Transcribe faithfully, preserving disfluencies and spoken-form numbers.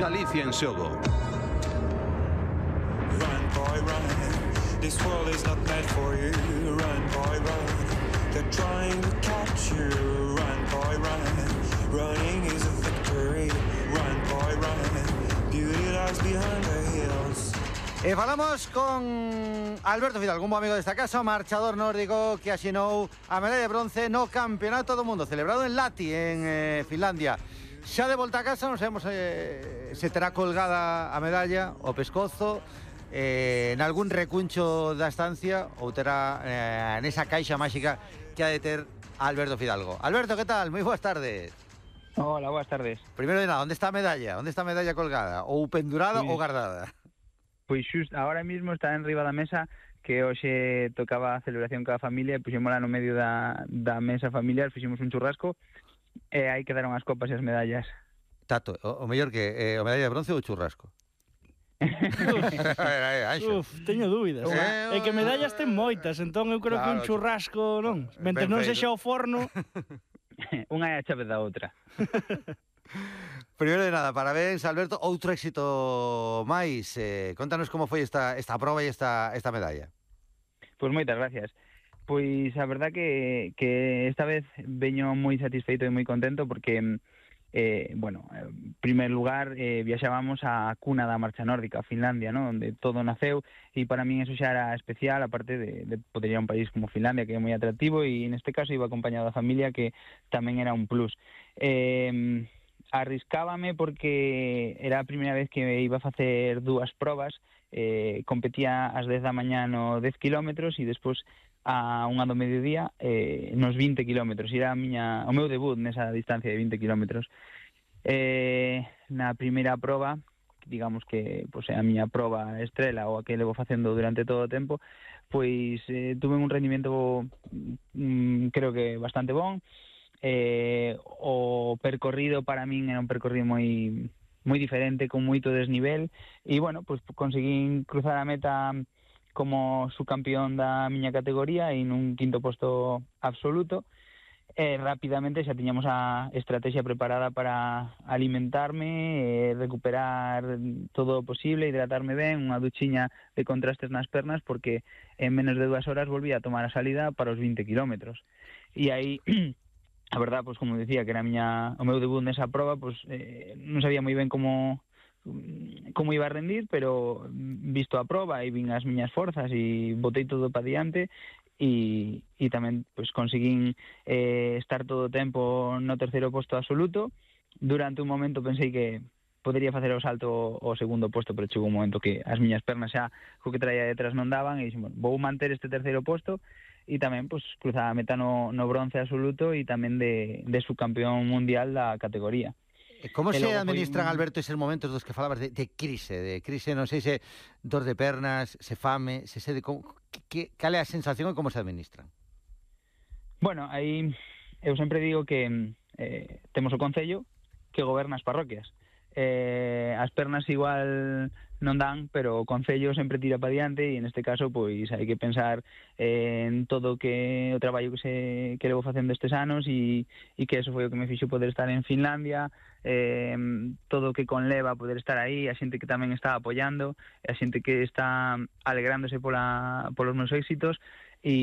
Galicia en xogo. Run, boy, run. This world is not meant for you. Run, boy, run. They're trying to catch you. Run, boy, run. Running is a victory. Run, boy, run. Beauty lies behind the hills. E falamos con Alberto Fidalgo, un bo amigo desta casa, marchador nórdico que asinou a medalla de bronce no Campeonato do Mundo celebrado en Lahti, en eh, Finlandia. Xa de volta a casa, non sabemos eh, se terá colgada a medalla, o pescozo, eh, en algún recuncho da estancia ou terá eh, nesa caixa máxica que ha de ter Alberto Fidalgo. Alberto, que tal? Moi boas tardes. Hola, boas tardes. Primeiro de nada, onde está a medalla? Onde está a medalla colgada? Ou pendurada Pois, ou guardada? Pois xusto, agora mesmo está en riba da mesa, que hoxe tocaba a celebración coa familia, e puxémola no medio da, da mesa familiar, fixemos un churrasco, e aí quedaron as copas e as medallas. Tato, o, o mellor que eh, o medalla de bronce ou o churrasco? Uf, teño dúbidas. Eh, É que medallas ten moitas, entón eu creo claro, que un churrasco, non? Mentre non feito. sexa o forno. Unha é a chave da outra. Primeiro de nada, parabéns, Alberto. Outro éxito máis. Eh, contanos como foi esta, esta proba e esta, esta medalla. Pois moitas gracias. Pois a verdad que, que esta vez veño moi satisfeito e moi contento porque, eh, bueno, en primer lugar, eh, viaxábamos á cuna da marcha nórdica, a Finlandia, ¿no? Onde todo naceu, e para min eso xa era especial, aparte de, de poder ir a un país como Finlandia, que é moi atractivo, e neste caso iba acompañado da familia, que tamén era un plus. Eh... Arriscábame porque era a primeira vez que iba a facer dúas probas, eh, competía ás dez da mañá no dez kilómetros e despois a unha do mediodía eh, nos vinte kilómetros. Era a miña, o meu debut nesa distancia de vinte kilómetros. Eh, na primeira proba, digamos que pois, é a miña proba estrela ou a que levo facendo durante todo o tempo, pois eh, tuve un rendimento mm, creo que bastante bon. Eh, o percorrido para min era un percorrido moi moi diferente, con moito desnivel, e bueno, pues conseguín cruzar a meta como subcampeón da miña categoría e nun quinto posto absoluto. E rapidamente xa tiñamos a estrategia preparada para alimentarme, e recuperar todo o posible, hidratarme ben, unha duchiña de contrastes nas pernas, porque en menos de dúas horas volvía a tomar a salida para os vinte kilómetros. E aí a verdad, pois como decía, que era a miña, o meu debut nesa proba, pois eh, non sabía moi ben como como iba a rendir, pero visto a proba e vin as miñas forzas e botei todo para diante e, e tamén pois conseguín eh, estar todo o tempo no terceiro posto absoluto. Durante un momento pensei que podería facer o salto ao segundo posto, pero chegou un momento que as miñas pernas xa co que traía detrás non daban e dixen, bueno, vou manter este terceiro posto. E tamén, pois, cruzaba a meta no, no bronce absoluto e tamén de, de subcampeón mundial da categoría. Como E se logo administran, foi... Alberto, eses momentos dos que falabas de, de crise, de crise, non sei se dor de pernas, se fame, se sede, como, que, cal é a sensación e como se administran? Bueno, aí eu sempre digo que eh, temos o Concello que goberna as parroquias. Eh, as pernas igual non dan, pero o Concello sempre tira para diante e neste caso pois hai que pensar eh, en todo que o traballo que se que levo facendo estes anos e, e que eso foi o que me fixo poder estar en Finlandia, eh, todo o que conleva poder estar aí, a xente que tamén está apoiando, a xente que está alegrándose pola, polos meus éxitos e